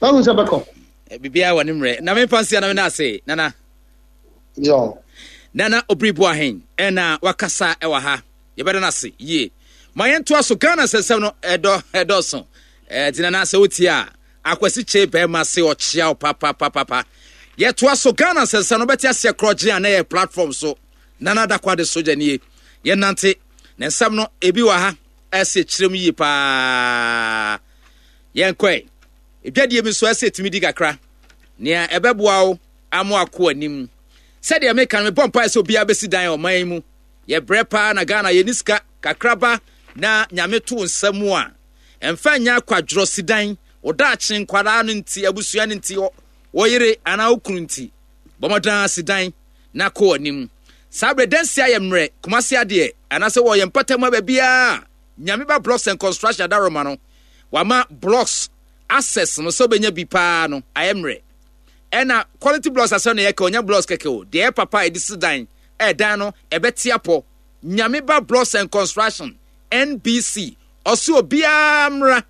Wahu sɛ bɛkɔ. Eh, biribiara wɔ ne mmerɛ. Na memfa nsia na mena ase, Nana. Yo. Nana Obiri Boahen ɛna wakasa ɛwɔ ha. Yɛbɛda no ase yie. Ma yɛntoa so Ghana nsɛnsɛm no ɛdɔ ɛdɔɔso. Ɛti Nana sɛ wotie a Akwasi Kye bɛrima se ɔkyea wo papapapapa. Yɛtoa so Ghana nsɛnsɛm no bɛte aseɛ korɔgye a na yɛ platform so. Nana Dakwade sogya nie. Yɛnante. Ne nsɛm no ebi wɔ ha ɛsɛ kyerɛm yie paa. Yɛnkɔ ɛ. Dwadie bi nso ɛsɛ ɛtumi di kakra. Nea ɛbɛboa wo ama wakɔ anim. Sɛdeɛ meka no, mebɔ mpaeɛ sɛ obiara bɛsi dan ɔman yi mu. Yɛbrɛ paa na Ghana yɛni sika kakraba na Nyame to wo nsa mu a, ɛmfa nyɛ akwadworɔ si dan. Wo daakye nkwadaa no nti, abusua no nti, wo yere anaa wo kunu nti, bɔ mmɔden ara si dan na kɔ anim. Saa berɛ dansi ayɛ mmerɛ, Kumasi adeɛ, anaasɛ wɔ yɛn mpɔtam ha baabiara Nyame ba blocks and construction adaroma no wama blocks access no sɛ wobɛnya bi paa no ayɛ mmerɛ. Ɛna quality blocks asɛm na yɛka ɔnya blocks kɛkɛ o, deɛ ɛyɛ papa a yɛde si dan ɛdan no ɛbɛte apɔ. Nyame ba blocks and construction NBC ɔse obiara mmra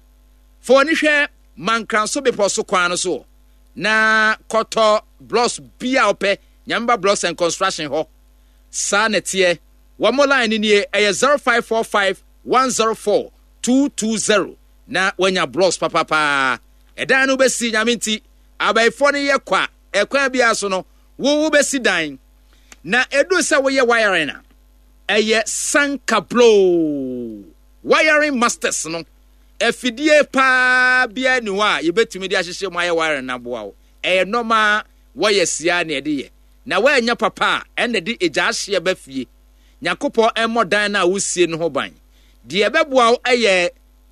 fa w'ani hwɛ Mankranso bepɔ so kwan no so na kɔtɔ blocks bi a wopɛ Nyame ba blocks and construction hɔ. Saa na ɛteɛ. Wɔn line no nie, ɛyɛ 0545 104 220 na wanya blocks papapaa. Ɛdan no wobɛsi, Nyame nti, abayifoɔ no yɛ kwa, ɛkwan biara so no, wo wobɛsi dan. Na ɛduru sɛ woyɛ wiring a, ɛyɛ sankabloo. Wiring masters no, afidie paa biara ni hɔ a yɛbɛtumi de ahyehyɛ mu ayɛ wiring no aboa wo. Ɛyɛ nɔma wɔyɛ siaa na ɛde yɛ. Na woannya papa a, ɛnna de egya ahyeɛ ba fie. Nyankopɔn mmɔ dan no a wosie no ho ban. Deɛ ɛbɛboa wo yɛ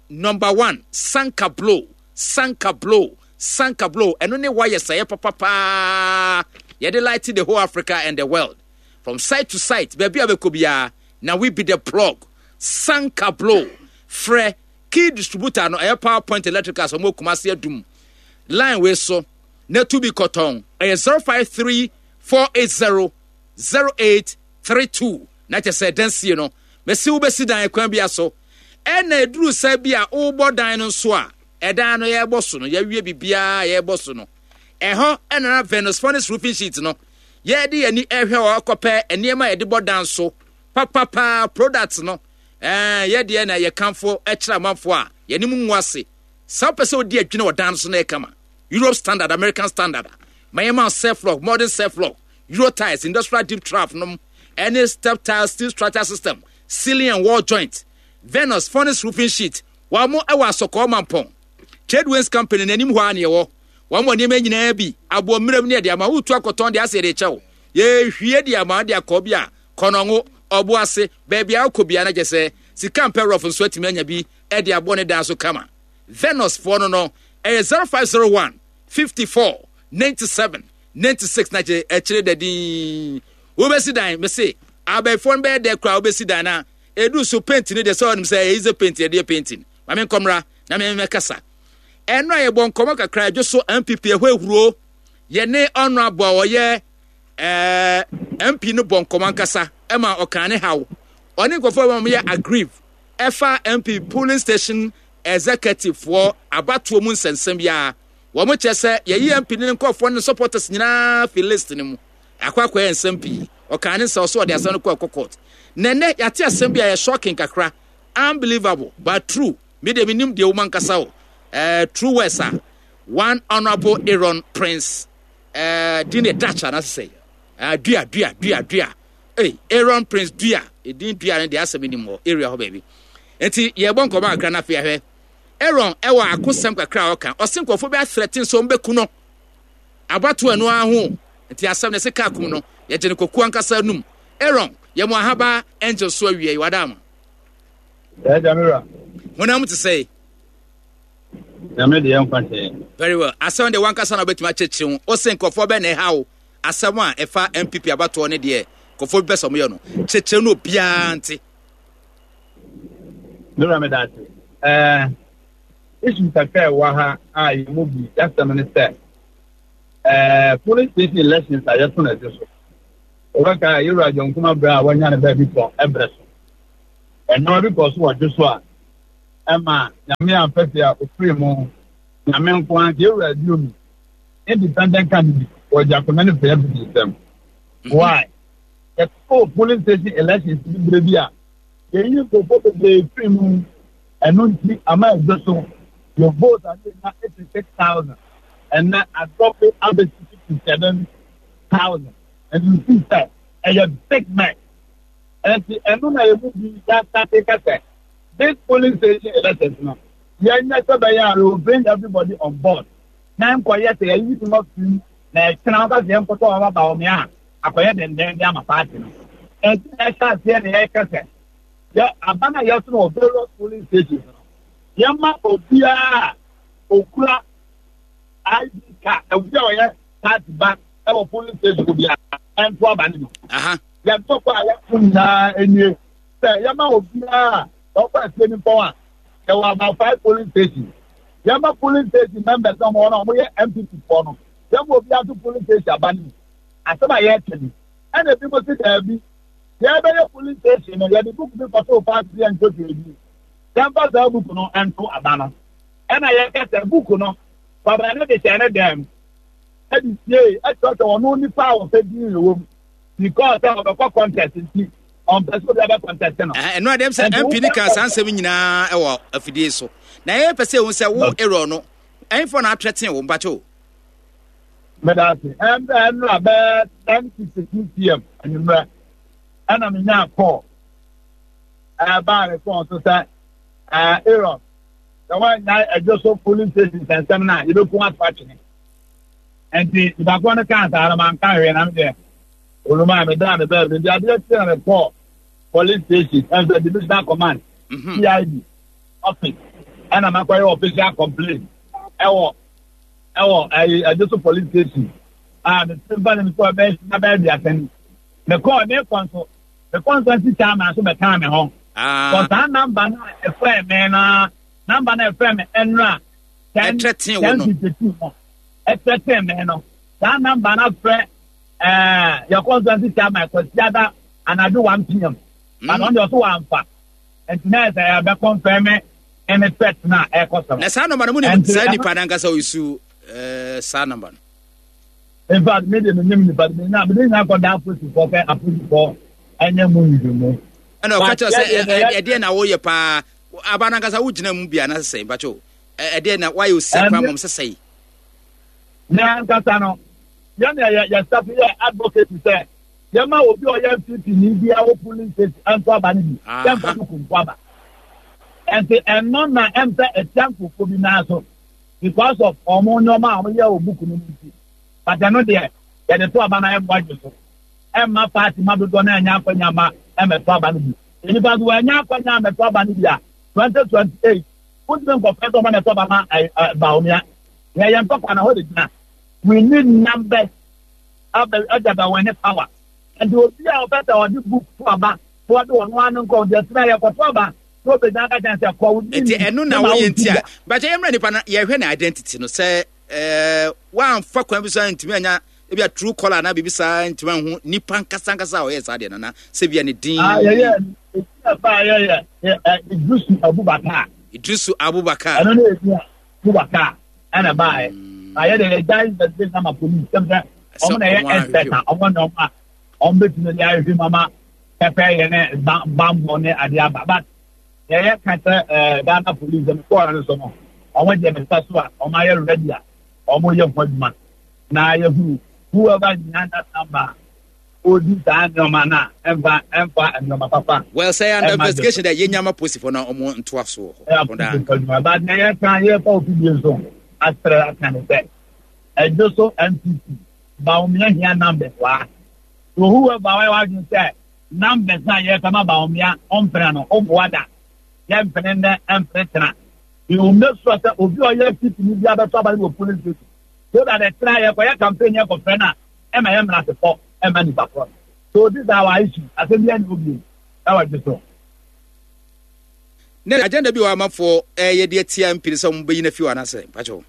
number one, sanka blow, sanka blow, sanka blow. Ɛno ne wires a ɛyɛ papa paa. Yɛde light the whole Africa and the world. From site to site, baabi a wobɛkɔ biara, na we be the plug. Sanka blow. Frɛ key distributor no, ɛyɛ Power Point Electricals, wɔn wɔ Kumasi Adum. Line wei so. na tu bi kɔtɔn. Ɛyɛ 053 480 0832. Na kyɛ sɛ dansie no, mesi wobɛsi dan kwan bi so. Ɛna ɛduru sɛ bi a wobɔ dan no nso a, ɛdan no yɛbɔ so no, yɛawie biribiara yɛbɔ so no. Ɛhɔ ɛna na Venus Furnace Roofing Sheet no, yɛde yɛn ani ɛhwɛ hɔ akɔpɛ nneɛma a yɛde bɔ dan so papapaa products no. Ɛɛ yɛdeɛ na yɛkamfo kyerɛ amanfoɔ a yɛne mu ngu ase. Sɛ wopɛ sɛ wodi adwene wɔ dan no so na ɛyɛ kama, Europe standard, American standard a, ma yɛma self lock, modern self lock, Euro tiles, industrial deep trough nom, ɛne step tile, steel structure system, ceiling and wall joint, Venus furnace roofing sheet. Wɔn mo ɛwɔ Asɔkɔɔ Mampɔn. Trade Winds Company n'anim hɔ a na yɛwɔ. Wɔn wɔ nneɛma nyinaa bi, aboɔ mmerɛm ne ɛde ama wotu akɔtɔn de asɛ de kyɛw. Yɛhwie de ama de akɔ bi a kɔnɔngo, ɔbo ase, baabi a wokɔ biara na kyɛ sɛ sika mpɛ rɔf nso atumi anya bi de abɔ ne dan so kama. Venus foɔ no no ɛyɛ 0501 54 97 96 na kyerɛ ɛkyerɛ da din wobɛsi dan mese abɛɛfoɔ no bɛyɛ dɛ koraa wobɛsi dan na ɛdu so paint no deɛ sɛ ɔnim sɛ ɛyɛ easy paint yɛde yɛ painting ma me nkɔmmra na me mɛkasa ɛno a yɛbɔ nkɔmmɔ kakra adwo so MPP ɛhɔ ehuro yɛne ɔno aboa ɔyɛ ɛɛ MP no bɔ nkɔmmɔ ankasa ɛma ɔkan ne haw ɔne nkurɔfoɔ a wɔyɛ aggrieve. ɛfa MP polling station executive foɔ abatoɔ mu nsɛnsɛm biara. Wɔn kyerɛ sɛ yɛyi MP ne ne nkurɔfoɔ ne supporters nyinaa fi list no mu. Akɔ akɔyɛ nsɛm pii. Ɔkaa ne nsa ɔso ɔde asɛm no kɔ ɛkɔ court. Na ɛnɛ yɛate asɛm bi a ɛyɛ shocking kakra. Unbelievable but true. Me deɛ menim deɛ wom ankasa o. Eh, true words a one honorable Aaron Prince eh, din deɛ Dutch anaasɛ sɛ eh, dua dua dua dua. Hey, Aaron Prince dua edin dua no deɛ asɛm nim wɔ area hɔ baabi. Nti yɛbɔ nkɔmɔ kakra na afei ahwɛ. Aaron ɛwɔ akosɛm kakra a ɔka. Ɔse nkurɔfoɔ bi athreaten sɛ ɔmbɛku no. Abatoɔ ɛno ara ho. Nti asɛm no ɛse kaa kum no. Yɛgye no kɔku ankasa num. Aaron, yɛ mo ahaba angel so awie yi wada ama. Ɛgya me wura. Honam te sɛ. Nyame deɛ nkwa kyɛ. Very well. Asɛm deɛ wankasa na wobɛtumi akyerɛkyerɛ mu. Ose nkurɔfoɔ bɛn na ɛha wo? Asɛm a ɛfa NPP abatoɔ ne deɛ nkurɔfoɔ bi pɛ sɛ wɔyɛ no. Kyerɛkyerɛ no obiara nte. Me wura meda ase. Ɛɛ issue kakra ɛwɔ ha a yɛn mu bi yɛasɛm ne sɛ ɛɛ polling station elections a yɛto no ɛde so. Wɔbɛka a yɛwura John Kuma berɛ a wanya ne baabi tɔ ɛbrɛ so. Nneɛma bi kɔɔ so wɔ dwo so a ɛma Nyame ampɛ sɛ a ofiri mu. Nyame nko ara nti yɛwura Aduomi independent candidate wɔgye akonnwa no firi NPP nsam. Why? Yɛtoo polling station elections bi berɛ bi a yɛyi nkurɔfoɔ bebree firi mu. Ɛno nti ama ɛdwo so yɛ vote a ne yɛnya 86,000 ɛnɛ adrɔpe abɛsi 57,000. And you see sɛ ɛyɛ big mess. Ɛnti ɛno na yɛn mu bi yɛasate ka sɛ this polling station elections no yɛnyɛ sɛ bɛyɛ a we will bring everybody on board na nkɔyɛ sɛ yɛyi bi ma firi na ɛkyena woka sɛ yɛnkɔtɔ wɔn aba wɔn a akɔyɛ dendenden ama party no. Ɛnti na ɛhyɛ aseɛ na yɛka sɛ yɛ aba no a yɛto no wɔ various polling stations no yɛma obiara a okura ID card obi a ɔyɛ party ba ɛwɔ polling station obiara ɛnto aba no bi. Yɛn ntɔkwa a yɛko nyinaa nie sɛ yɛma obiara a ɔkɔ asie no mpɔn a yɛwɔ about five polling stations. Yɛma polling station members na wɔn a wɔyɛ NPP foɔ no yɛma obiara to polling station aba no bi. Asɛm a yɛreka ni. Ɛna ebi mo se daabi yɛbɛyɛ polling station no yɛde book bi kɔtoo party bi yɛntwɛtwɛ bi. Yɛmfa saa book no nto aba no. Ɛna yɛka sɛ book no Kwabena ne de hyɛ ne dan mu ɛde siee ɛkyerɛkyerɛ ɔno nipa a wɔpɛ din wɔ mu. Because sɛ ɔbɛkɔ contest nti ɔmpɛ sɛ obi abɛ contest no. Ɛno adeɛ sɛ MP no kaa saa nsɛm nyinaa wɔ afidie so. Na yɛyɛ pɛ sɛ ehu sɛ wo error no ɛnfɔ na atrɛten wo mpakyɛ o. Meda ase. Ɛnora bɛɛ 10:52 pm anwummerɛ ɛna menyaa call ɛbaa me phone so sɛ Aaron sɛ woannyae adwo so polling station nsɛnsɛm no a yɛbɛku ato atwene. Nti nipakorɔ no kaa saa no manka hwee na medeɛ oluma medaa me baabi nti adeɛ kye na mekɔɔ police station ɛnso divisional command CID office ɛna makɔyɛ official complaint ɛwɔ ɛwɔ ɛyi ɛde so police station a mefiri mfa ne mekɔɔ bɛyɛ sika bɛyɛ aduasa ni mekɔɔ ne kɔ nso mekɔ nso nsi chairman so bɛkaa me ho kɔ saa namba no a ɛfrɛ me no namba no a ɛfrɛ me ɛnora ɛtrɛtee wo no. 10:52 ɛtrɛtee me no saa namba no afrɛ ɛɛ yɛ constituency chairman Kwasiada anadwo 1 pm but ɔno deɛ ɔso wamfa nti na ɛsɛ yɛbɛ confirm ɛne threat no a ɛkɔ so no. Na saa namba no mu nim saa nipa no ankasa ɔyisu ɛɛ saa namba no. In fact me de me nim nipa de me nya me de nya akɔda apolisifoɔ sɛ apolisifoɔ ɛnyɛ mu nhwehwɛmu. Ɛna ɔka kyerɛ sɛ ɛdeɛ na woyɛ paa aba no ankasa wogyina mu bi anaasɛ sɛ mpakyɛw. Ɛdeɛ na wayɛ osi akwan mɔm sɛ sɛe. Ne ankasa no, yɛn na yɛ yɛ staff yɛ advocate sɛ yɛma obi a ɔyɛ NPP ni bi a wɔ polling station ɛnto aba no bi sɛ mfa buku nto aba. Ɛnti ɛno na ɛmsɛ ɛtia nkurɔfoɔ bi nan so because of wɔn nneɛma a wɔyɛ wɔ buku no mu nti. But ɛno deɛ yɛde to aba na ɛmmoa dwe so. Ɛmma party ma dodoɔ no ɛnya akwanya ma ɛmɛto aba no bi. Nnipa nso wɔanya akwanya amɛto aba no bi a 2028 Wontumi nkɔfrɛ sɛ ɔma na ɛtɔ ba ma Bawumia. Yɛ yɛn ntɔkwa na hɔ de gyina. We need numbers abɛ ɛde abɛ win power. Nti obi a ɔpɛ sɛ ɔde book to aba na ɔde ɔno ano nkɔ nti ɛtena yɛ kɔto aba na obɛgyina aka kyɛn sɛ kɔ wo din. Nti ɛno na woyɛ nti a bàtɛ yɛmmra nipa no yɛhwɛ ne identity no sɛ ɛɛ woamfa kwan bi so antumi anya ebi a true caller anaa biribi saa ntumi anhu nipa nkasa nkasa a ɔyɛ saa deɛ no na sɛ bia ne din. Ah, yɛyɛ. Eti ɛfa yɛ yɛ Idrisu Abubakar. Idrisu Abubakar. Ɛno ne edi a Abubakar ɛna baayɛ. Na yɛ de yɛ gya investigation ama police sɛm sɛ ɔmo na yɛ expert a ɔmo na ɔmo a ɔmo betumi de ahwehwɛ mu ama pɛpɛ yɛ ne bambɔ ne adeɛ aba but yɛyɛ ka kyerɛ ɛɛ Ghana police ɛmo kɔɔ no so no ɔmo deɛ mesa so a ɔmo ayɛ ready a ɔmo yɛ ho adwuma na yɛhunu whoever is behind that number odi saa nneɛma no a ɛmfa ɛmfa nneɛma papa. Well, sɛ yɛ under investigation dɛ yɛnya ma posifo na ɔmo ntoa so wɔ hɔ. Ɛyɛ adwuma ba na yɛka yɛfa ofi bi nso asrɛ aka ne sɛ ɛdwo so NPP Bawumia hia numbers waa. So whoever wayɛ wadwene sɛ numbers a yɛka ma Bawumia ɔmpene no ɔmmoa da yɛmpene nnɛ ɛmpene tena. We will make sure sɛ obi a ɔyɛ NPP ni bi abɛtɔ aba no wɔ polling station so that ɛtena yɛkɔyɛ campaign yɛkɔfrɛ no a ɛma yɛ mmerasepɔ ɛma nipa korɔ no. So this is our issue. Asɛm bi ɛne obi ɛwɔ dwe so. Ne agenda bi wɔ amafoɔ ɛyɛ de atia MP no sɛ wɔn bɛyi no afi hɔ anaasɛ mpakyɛw.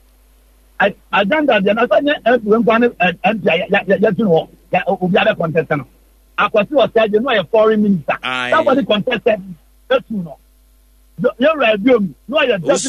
Agenda deɛ na sɛ nyɛ MP wei nkoa ne MP a yɛtu no hɔ obi abɛ contest no. Akwasi Ɔsɛe deɛ no ɔyɛ foreign minister. Somebody contested etu no. Yɛwura Ebiomi no ɔyɛ deputy.